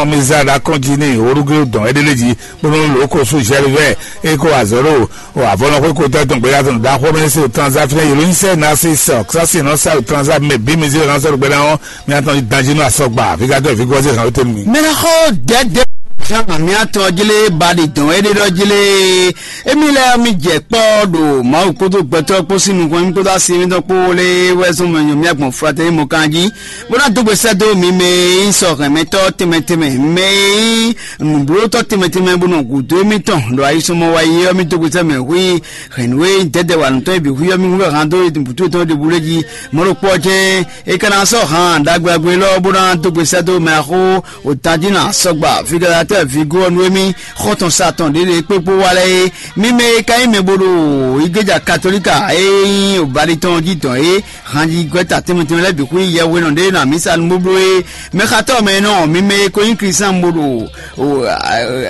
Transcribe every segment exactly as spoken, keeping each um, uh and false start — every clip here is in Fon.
Mizar ɖo akɔ́njí n'i, Olúgéwu dɔn é ɖélé jí, bónú lǒ ko sú Jɛlivɛ́ɛ, é ko azɔ̌ ɖo avɔnɔxwé ko tɛ́ tɔn gbéyàtọ̀ ɖaxó mɛ se transaction yěló nyí sɛ nasi sɔ sasi nɔ sa transa mɛ bí mi zé hàn sɔrɔ gbɛdá ɔn mi atɔn danji nɔ asɔgba vigatɔ vigɔze hàn wete mi. Mɛnɛ xɔ dɛdɛ hàn mi atɔn jele ba ɖi dɔn é ɖe ɖɔ jele emi lɛ mi jɛ kpɔ ɖo Mawu kótó gbɛtɔ kpó sín nukɔn mi kótó asi mi tɔn kpó lé wɛ zɔn mɛ nyɔ mi agbɔn flatɛ mi mɔ kan jí bó ná dó gbe sɛ́ dó mi mɛ e nyí sɔ hɛnmɛtɔ́ tɛnmɛ tɛnmɛ mɛ e nyí nǔblótɔ́ tɛnmɛ tɛnmɛ bó nɔ gǔdo émítɔn ɖo ayisɔmɔ wa yi ɔ́ mì dó gbe sɛ́ mɛ hui hɛ̌nnu e nyí dɛdɛ wa nǔtɔn e bǐ hui ɔ́ mì hu wɛ han dó bǔtú tɔn ɖěbǔ lé jí mɔ̌ ɖokpó ɔ́ jɛ́n é ka ná sɔ́ han ɖagbe ɖagbe élɔ́ bó ná dó gbe sɛ́ dó mɛ axó otají nɔ asɔgba figalatɛ́ vigo ɔ́ nú émí xɔ́ntɔn satɔn ɖě ɖě kpékpó wa lɛ́ɛ é mì mɛ e ka nyí mɛ bo ɖo igleja katolíka e nyí obali tɔn jí dɔn é hanjigwɛ́ta tɛnmɛ tɛnmɛ lɛ́ɛ bǐ xwí yɛhwenɔ ɖé nɔ amǐsa nú bóbló é mɛxatɔ́ mɛ nɔ mi mɛ e ko nyí kristian bo ɖo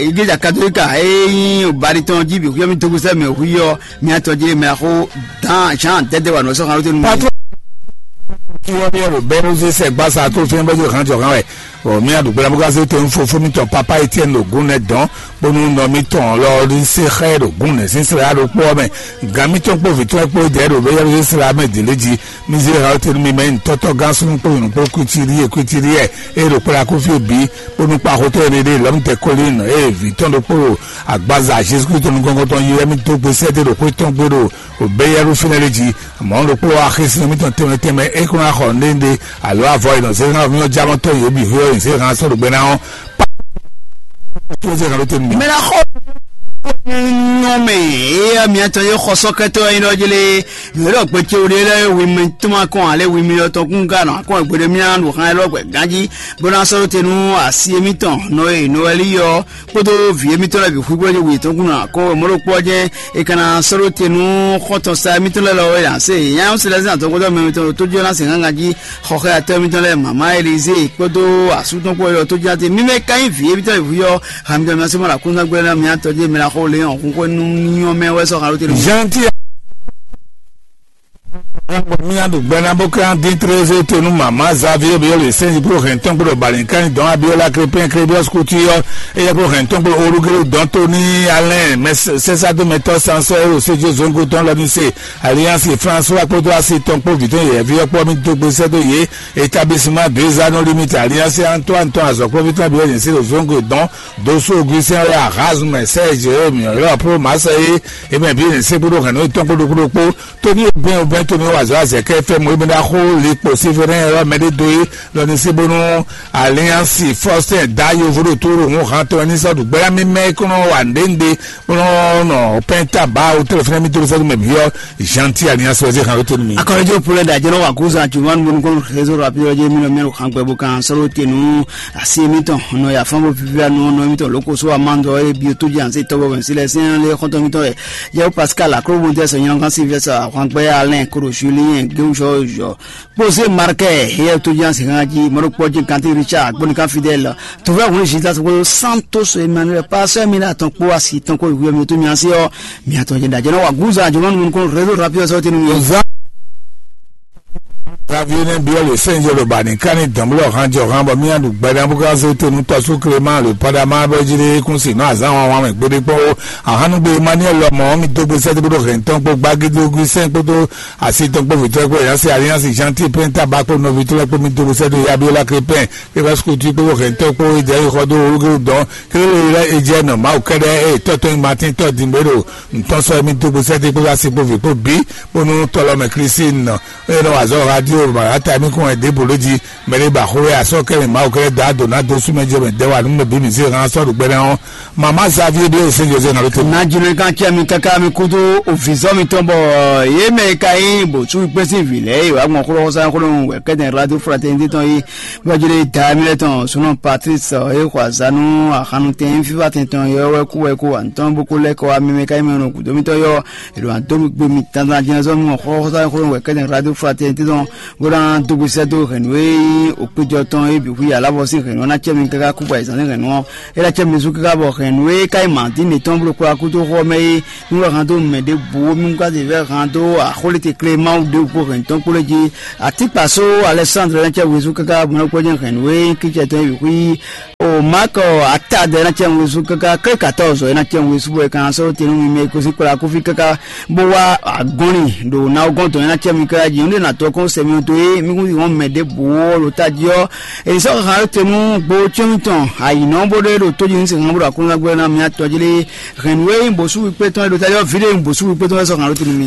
igleja katolíka e nyí obali tɔn jí bǐ xwí ɔ́ mi dógúsɛ mɛ xwí ɔ́ mi atɔn jí mɛ xó dan jean dɛdɛ wa nɔ sɔ́ xan lóte nú mi. Patro tí wọ́n ní ẹ̀rọ bẹ́ẹ̀ ló ṣe sẹ́gbàsá tó fi ń bọ́jú hàn jọ̀kan wẹ̀. Ɔ mía ɖo gbɛɖe bó ka zé tɔn fofó mitɔn papa Etienne ɖo gún nɛ dɔn bónú nɔ mitɔn lɔ ní se xɛ ɖo gún nɛ sín sra ɖo kpó ɔ́ mɛ. Gǎn mitɔn kpó vǐtɔn kpó dɛ ɖo bɛ yɛlɛ sra mɛ dě lé jí. Mi zé ha tenu mi mɛ ntɔ́tɔ́ gán súnú kpó nyɔ̌nu kpó kwitiri e kwitiri e e ɖo kpla kó fí bǐ bónú kpa xotɔ́ e ɖe lɔmú tɛ kólín e vǐtɔn ɖokpó ɖo agbaza Jezu Kristu nukɔn tɔn yi wɛ mi dó gbe sɛ́dé ɖo xwé tɔn gbé ɖo bɛ yɛlɛ fínɛ́ lé jí. Mɔ̌ ɖokpó axésinɔ mitɔn tɛnmɛ tɛnmɛ é kó ná xɔ nɖénɖé alo avɔ e nɔ zé hán mì ɔ́ jámɔtɔ́ yě bǐ xwé ɔ́ nyi zé hán sɔ́ ɖo gbɛ ná ɔ́. Tó zé hán ló tɛnu mì. Mɛ ná xɔ nyɔmɛ eya miatɔn ye xɔ sɔkɛtɔ yin ɖɔ jele yɔrɔ gbɛtɛ o de lɛ wi mi tuma kɔn ale wi mi yɔtɔ kun ka nɔ akɔn gbede mi anu hàn lɔ gbɛ ganji bó ná sɔrɔ tenu asi mi tɔn nɔ ye nɔ wɛ li yɔ kpódó vǐ émítɔn lɛ́ɛ bǐ xwíxwé ní wǔyětɔn kún ná kó mɔ̌ɖokpɔ́ jɛ́n è ka ná sɔ́ ɖó te nú xɔ́ntɔn sa émítɔn lɛ́ɛ lɔ é ǎ se nyanya ɔ́ se lɛ́ sín azɔngbɔ́dɔ́ mɛ émítɔn ɖo tójó ná se gángan jí xɔxɛ́yatɔ́ émítɔn lɛ́ɛ mama Elizée kpódó asú tɔn kpó ɔ́ tójó ná te mímɛ́ ka nyí vǐ émítɔn e vǐ ɔ́ ha mitɔn mɛ sɔ́ ma ɖo akúnzán gbé ná mi atɔ́ jí mɛ ná xó lé hɔn xúxó nú nyɔ́mɛ wɛ sɔ́ xa ɖó te nú. Jean ti Mía ɖo gbɛ ná bó ká dín trézé to nú mama Xavier Biɔli sɛnji kúrò hɛn tɔn kúrò balǐnkányi dɔn Abiola Crépin Crébius Couture ɔ́, éyɛ́ kúrò hɛn tɔn kúrò Olugélu dɔn tó ní Alain mɛ sɛsádómɛtɔ́ Sansɔ Ero Sédjé Zongo tɔn lɔ ní se Alliance François kpódó asi tɔn kpó vǐ tɔn yɛ̌ví ɔ́ kpó mì dó gbe sɛ́ dó yě établissement deux anneaux limite Alliance Antoine tɔn azɔ̌kplɔ́ví tɔn Abiola ní se ɖo Zongo dɔn Doso Augustin Roy Arazme Serge Emi Europe Marseille émɛ bí ní se kpódó hɛn nú tɔn kpódó kpódó kpó Tony Obin Obin Tony wazɔ azɛkɛ fɛ mo ebe na xo likpo Sévérin yɔrɔ mɛ ɖé dó é lɔ ní sí bónú Alliance Faustin da yovo ɖo tó ɖo ŋu hàn tɔn ní sɔ́ ɖu gbɛ́yà mí mɛ kó nɔ wa ndéndé bónú nɔ pɛnta ba o télé fúnɛ mí tó sɔ́ mɛ bíyɔ Gentil Alliance wazé hàn tó mi. Akɔrɔjɔ pulɛ da jɛnɛ wa kó zan juma nu bónú kó réseau rapide jɛ mi nɔ mɛ hàn gbɛ bó kan sɔrɔ tenu asi mi tɔn nɔ ya fɔn bó fifia nɔ nɔ mi tɔn lóko so amandɔ e bi tó jẹ anse tɔbɔ bɛ sílẹ̀ sɛn lé xɔtɔ mi tɔn yɛ Yɛwo Pascal Aklobondɛ sɔ nyɔnɔnkan Sylvester Ahwangbɛ Alain Koro Julien Gewusɔ Jɔ Kpose Markɛ yɛ to jan se kan ji mɔɖo kpɔ ji kanti Richard gbɔni kan Fidèle tuvɛ hun Gildas kpɔdo Santos Emmanuel Pastor Emile atɔn kpó asi tɔn kó ihu mi to mi asi ɔ mi atɔn jɛ dajɛ nɔ wa guza jɔmɔ nu kɔn réseau rapide sɔ tinu mi. Xavier nɛ biɔ le sɛnjɛ lo ba ni kani dɔnblɔ han jɔ han bɔ mi adu gbɛdɛ bu ka se tenu tɔsu Clément le padama bɛ jiri kun si nɔ azan wan wan mɛ gbede kpɔ o ahanu gbe Emmanuel lɔmɔ mi dogbe sɛ dogo hɛntɔn kpó gbagidogu sɛn kpódó asi tɔn kpó vitɔ kpó yasi alliance Gentil pɛn taba kpó nɔvi tɔ kpó mi dogbe sɛ do Abiola Crépin kpé va sukutu kpó hɛntɔn kpó idɛ yi xɔ do olugero dɔn kele le lɛ edze nɔ mawu kɛdɛ eye tɔtɔ yi matin tɔ dimbe ɖo ntɔn sɔ mi dogbe sɛ de kpó asi kpó vi kpó bi kpó nu tɔlɔ mɛ Christine nɔ eye nɔ wazɔ radio ma ata mi kún ɛ debo lé ji mɛ ɖé ba xó wɛ asɔ kɛ mi mawu kɛ da do na do sumɛ jɛ mɛ dɛ wa nu mɛ bi mi se hàn sɔ ɖo gbɛnɛ ɔ mama Xavier bí ese jose na ló te. Na jùlọ kan kí mi káká mi kúdú òfìsọ́ mi tɔn bọ̀ yé mɛ ka yín bò sú pé sí ìfìlẹ̀ yìí wà gbọ́n kúrò sáyẹn kúrò wẹ̀ kẹ́tẹ̀ radio fraternité tɔn yìí bọ́júlé da mi lẹ́ tɔn súnú Patrice ẹ̀ kọ́ àzánú àhánu tẹ̀ ń fífa tẹ̀ tɔn yọ wẹ́ kú wẹ́ kú wà ń tɔn bó kó lẹ́kọ̀ọ́ mi mɛ ka yín mi rún kùdó mi tɔn yọ èlò àdó mi gbé mi tantan jẹ́ sọ́nù ọ̀họ́ sáyẹn kúrò wẹ̀ kẹ́tẹ̀ radio fraternité tɔn Bó ná dó gbe sɛ́ dó hɛ̌nnu e nyí òkpéjɔ tɔn é bǐ xwí alábɔ sín hɛ̌nnu ɔ́ ná cɛ mi káká kú bɔ ayǐzán sín hɛ̌nnu ɔ́, é ná cɛ mi zú káká bɔ hɛ̌nnu e ka nyí mǎdín mǐtɔn bló kplá kúdó xó ɔ́ mɛ é, nú wɛ han dó mɛ ɖěbǔ mí ka zě vɛ́ han dó axóléteklé Mawu ɖěbǔ kpó hɛ̌nnu tɔn kpó lɛ́ɛ jí. Atíkpasó Alɛsándre ná cɛ wezú káká bɔ ná kpɔ́ jɛ hɛ̌nnu e nyí kícɛ tɔn é bǐ xwí. O Mark Atad ena cɛ ŋwesú káká, Krékatɔ́ zɔ ena cɛ ŋwesú bɔ è ka ná sɔ́ te nú mi mɛ e gosín kplá kúfí káká bó wá agɔ́nlin ɖo nawɔgɔ́n dɔn ena cɛ mi káká jí. Nǔɖé nǎ tɔ́ kɔn sɛ mi to é mi kún hɔn mɛ ɖěbǔ ɔ́ ɖo tají ɔ́. È sɔ́ xaxa te nú gbo cyɔ́n mitɔn ayǐnɔ bó ɖé ɖo tójí ní sɛn bó ɖo aklúnɔgbé ná mi atɔ́ jí lé. Hɛ̌nnu e nyí bǒsú wíkpé tɔn e ɖo tají ɔ́, vǐ ɖé nyí bǒsú wíkpé tɔn e sɔ́ xaxa te nú mi.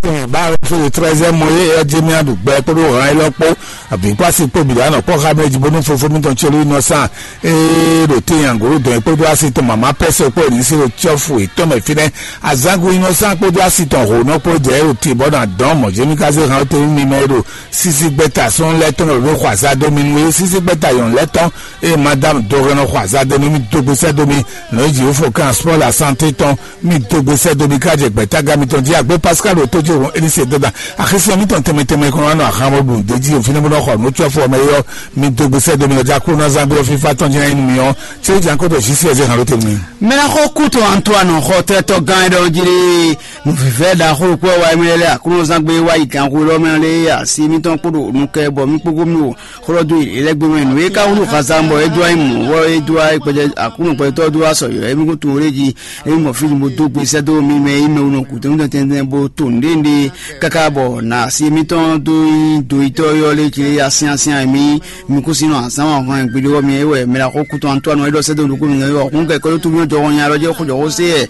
Báwo fún le treize mɔ yé ɛ jẹ mía ɖu gbɛ kpódó hàn élɔ́ kpó, abǐ kpó asi kpó bǐ ɖo anɔ kpɔ́ xá mɛ jí bónú fofó mitɔn tsɔlú inɔsán ee ɖo te nyangolo dɔn kpódó asi tɔn mama pɛsɛ kpó ní sí ɖo tsɔfu yětɔn mɛ fínɛ́. Azangu inɔsán kpódó asi tɔn hǒnɔ kpó jɛ ɖo te bɔ na dɔn mɔ jɛmi ka zé hàn te mi mɛ ɖo sisi gbɛta sɔn lɛ tɔn ɖo xɔ azadó mi nú é sisi gbɛta yɔn lɛ tɔn. Eye madame dɔgɔnɔ xɔ azadó mi dógbésɛ dó mi nɔ jí fo kan sport la santé tɔn. Mi dógbe sɛ́ dó mi ká jɛ gbɛ̌tágá mitɔn jí agbé Pascal ɖo tó jí òun Elise dó da axisɛ mitɔn tɛnmɛ tɛnmɛ kɔn nɔ ahan bɔ ɖun dé jí òfin bó nɔ xɔ nú tsɔ́fɔ mɛ yɔ. Mi dógbe sɛ́ dó mi lɔ já kúrò ná zán gbé fífá tɔn jí ná nyí nú mi ɔ́. Tí ó jan kó dɔ jí sí ɛzɛ hàn ló tɛnmɛ. Mɛ ná xɔ kú tɔn Antoine xɔ tɛ́tɔ gán é ɖɔ jí ɖé. Nǔvívɛ́ ɖaxó ɖokpó wá émí lɛ́ Aklúnɔzán gbé wá yi ganxó lɔ́ mɛ lé asi émítɔn kpó ɖo nukɛ bɔ mí kpókó mí o. Xlɔ́ dó yě lɛ́ gbé mɛ nǔ e ka wútu xaza bɔ é dó wá nyí mɔ̌ bɔ é dó wá gbɛjɛ Aklúnɔ gbɛtɔ́ dó wá sɔyɔ̌ émí kún tunwun lé jí. Émí mɔ fí bó dó gbe sɛ́ dó mì mɛ é mɛ wunɔ gǔdo mítɔn tɛntɛn bó to nǔɖé nǔɖé káká bɔ nǎ asi émítɔn dó nyí doyítɔ́ yɔ́ lé jí lé asyásyán émí. Mi kún sin nɔ azán wa hɔn gbeɖé wɔ mi é wɛ mɛ la xó kútɔn Antoine é ɖɔ sɛ́ dó nukún mi ɔ́ hún kɛ kɔ́ tó mí jɔ hɔn nya lɔ jɛ xó jɔ xó sé ɛ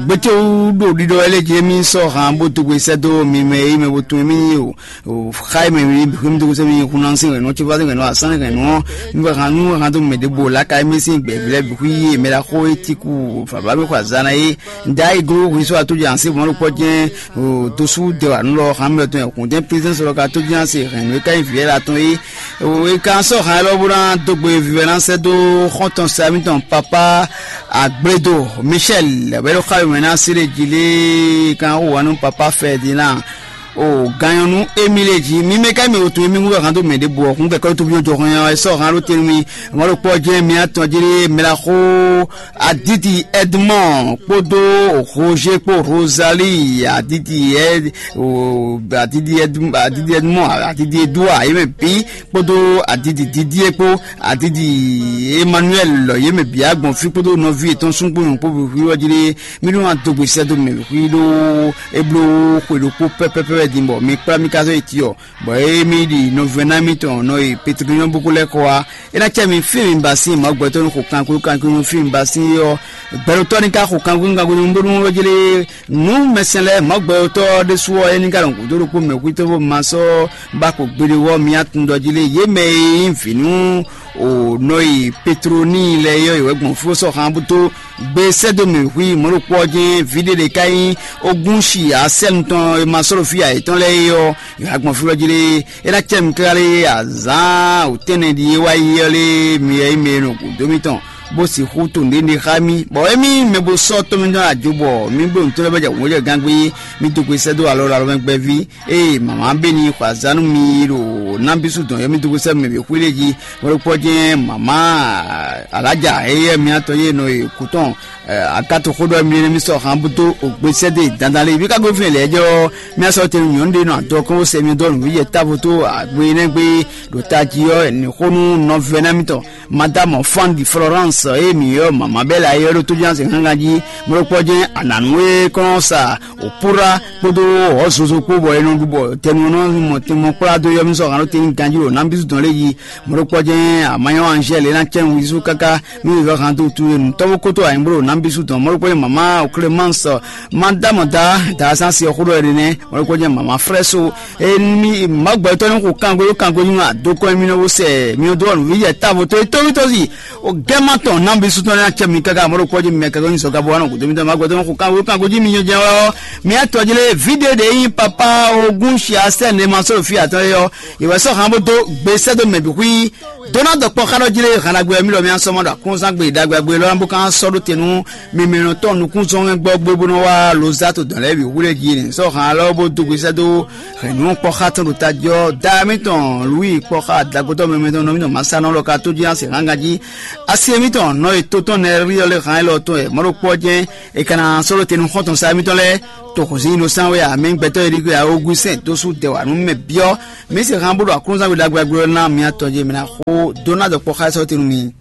gbétewú ɖo ɖiɖɔ wɛ lé jí émí sɔ́ han bó dó gbe sɛ́ dó mi mɛ é mɛ bó tunwun émí o. Xá e mɛ mi bǐ xwé mi dó sɛ́ mi hun ná sín hɛ̌nnu ɔ́, cífá sín hɛ̌nnu ɔ́, asán sín hɛ̌nnu ɔ́, mi wɛ han nú han dó mɛ ɖěbǔ o, laka émí sín gbɛ̌ví lɛ́ɛ bǐ xwí yí mɛ ɖaxó e cí kú vǎvá mi xɔ azǎn ná é. Nda e gló hwi sɔ́ atójɛ ansí mɔ̌ ɖokpɔ́ jɛ́n dosú de wǎ nú lɔ han mɛ tɔn hǔn jɛ́n plézɛ́nsɔ lɔ ka tó jɛ́n ase hɛ̌nnu e ka nyí vǐ ɛ́ la tɔn é. E ka sɔ́ han élɔ́ bó ná dó gbe vivɛ ná sɛ́ dó xɔ́ntɔn sa mítɔn papa Agblédo Michel bɛ́ ɖo xá mɛ ná sí ɖé jí lé kan xó wǎ nú papa Ferdinand. O ganyɔnu émile jí mi mɛ ka mi o tun mi wúlò hàn dó mɛ ɖěbǔ ɔ́ hún kɛkɛ tó bí jɔ hɔn ɛ sɔ hàn ló tɛnu mi. Mɔlò kpɔ jẹ́ mi atɔn jí mɛ la xó Aditi Edmond kpódó Roger kpó Rosalie Aditi Ed o Aditi Edmond Aditi Edmond Aditi Edouard yé mɛ bí kpódó Aditi Didier kpó Aditi Emmanuel yé mɛ bí agbɔn fí kpódó nɔví yětɔn súngbó nyɔ̌ kpó hwíhwí ɔ́ jí. Mí nɔ wá dó gbe sɛ́ dó mɛ xwí ɖó é bló xwe ɖokpó pɛ́pɛ́pɛ́ din bɔ mi kplá mì ká zɔ́ yi Tiyɔ, bɔ é mì ɖi nɔvɛ́ná mitɔn nɔ yi Petelinɔ́ bókó lɛ́ɛ kɔ wá. É ná cɛ mi fí mi ba sín Mawu gbɛtɔ́ nú xo kankwékankwé nú fí mi ba sín é ɔ́, gbɛɖotɔ́ ní ká xo kankwékankwé nú bónú é jlé nú mɛsɛn lɛ́ɛ Mawu gbɛtɔ́ ɖésú ɔ́, é ní ká nɔ gǔdo ɖokpó mɛ xwítɔ́ bó ma sɔ́ ba xo gbeɖé wɔ́ mi atundɔ jí lé yě mɛ e nyí vǐ nú o nɔ yi Petlonii lɛ́ɛ é ɔ́, yě wɛ gbɔn fó sɔ́ xan bó dó gbe sɛ́ dó mɛ xwí mɔ̌ ɖokpó ɔ́ jɛ́n vǐ ɖé ɖě ká nyí ogún shi asɛ́nu tɔn e ma sɔ́ ɖo fí ayǐtɔn lɛ́ɛ é ɔ́, yě wá gbɔn fí lɔ jí lé. É ná cɛ mi káká lé azǎn wǔtɛ́nɛ ɖi é wá yi ɔ́ lé mi wɛ nyí mɛ e nɔ gǔdo mitɔn bó sixú to nǔɖé xá mì, bɔ émí mɛ bo sɔ́ tɔ́ mitɔn ajo bɔ mí bló nǔtɔ́ lɛ́ɛ bɔ jɛ wǒ jɛ gangbé, mí dó gbe sɛ́ dó alɔ ɖo alɔ mɛ gbɛ́ví. Ée mama bé ní xɔ azǎn nú mi ɖo nabísú dɔn yɔ́mídógúsɛ́ mɛ bǐ xwí lé jí, bó ɖokpɔ́ jɛ́n mama alájà éyɛ́ miatɔn yé nɔ e kú tɔn. Akátoxóɖɔ mi ní mi sɔ han bó dó ògbésɛ́dé dandan lé bí ká gosín lɛ̌ jɛ ɔ́, mía sɔ́ tɛnu nyɔ̌nu ɖé nɔ adɔ kɔn bó sɛ mi dó nǔ yɛ távo tó agbe énɛ́ gbé ɖo tají ɔ́, ní xó nú nɔvɛ́ná mitɔn. Madame Fandi Florence eye mi yɔ mama bɛ la yɔ ɖo tójúnásɛ gángan jí, mlɔkpɔ jɛn ananu e kɔn sa òpúra kpódó ɔzozo kpó bɔ e nɔ ɖu bɔ tɛnu nɔ mɔ tɛmɔ kplá dó yɔ mi sɔ hàn ɖo tɛni ganjí ɖo nambísú dɔn lé yi. Mlɔkpɔ jɛn amanyɔ Angèle ena cɛn wísú káká mi yɔ hàn tó tu nu tɔwó kótó anyigbló ɖo nambísú dɔn mlɔkpɔ jɛn mama Clémence, Madame da da sansi ɔxó ɖɔ ɛɖɛ nɛ mlɔkpɔ jɛn mama Frɛso. Emi magbɛtɔ ni xo kango yo kango nyi ma do kɔ mi nɔ wo sɛ mi nɔ do ɔnu vi yɛ tavo to to to si o gɛma tɔ Ɔn, nǎ bí sútɔ́ ní acɛ mi káká amɔ̌ ɖo kpɔ́ jí mi mɛ káká nyi sɔ̌ kábó wá nɔ gǔdo mitɔ́ ma gbɛtɔ́ xo ká wékán gǒ jí mi nyɔ́ jɛ́n wɛ ɔ́. Mi atɔ jí lé vǐ ɖé ɖě nyí papá ogún xia sɛ́n ɖé ma sɔ́ ɖo fí atɔ́ é ɔ́, è wɛ sɔ́ han bó dó gbe sɛ́ dó mɛ bǐ xwí. Dó ná dɔ kpɔ́ xá ɖɔ jí lé han ɖagbe ɔ́, mí lɔ mi ná sɔ́ mɔ ɖo aklúnzán gbe ɖagbe ɖagbe lɔ ná bó ká sɔ́ ɖó te nú mimɛnɔtɔ́ nukúnzɔ́ngɛ́gbɔ́ gbé bó nɔ wá Lozato dɔn lɛ́ɛ bǐ hwlɛ́ jí ni sɔ́ han lɔ bó dó gbe sɛ́ dó hɛ̌nnu kpɔ́ xá tɔn ɖo tají ɔ́. Da mítɔn Lwíi kpɔ́ xá dagotɔ́ mɛmɛ tɔn nɔ mítɔn Masánɔ lɔ ka tó jí ná se hángan jí. Asi émítɔn nɔ e tó tɔn Nɛríɔ lé han élɔ́ tɔn e mɔ̌ ɖokpó ɔ́ jɛ́n è ka ná sɔ́ ɖó te nú xɔ́ntɔn sa émítɔn lɛ́ɛ. Toxo zǐn nɔ sán wɛ ǎ, mɛ gbɛtɔ́ e ɖi gbé ǎ, ogun sɛn dó sú dɛ wǎ nú mɛ byɔ́. Mǐ se han bó ɖo aklúnzán gbe ɖagbe ɔ́ ná mi atɔn jí mɛ ná xó dó ná dɔ kpɔ́ xá sɔ́ te nú mi.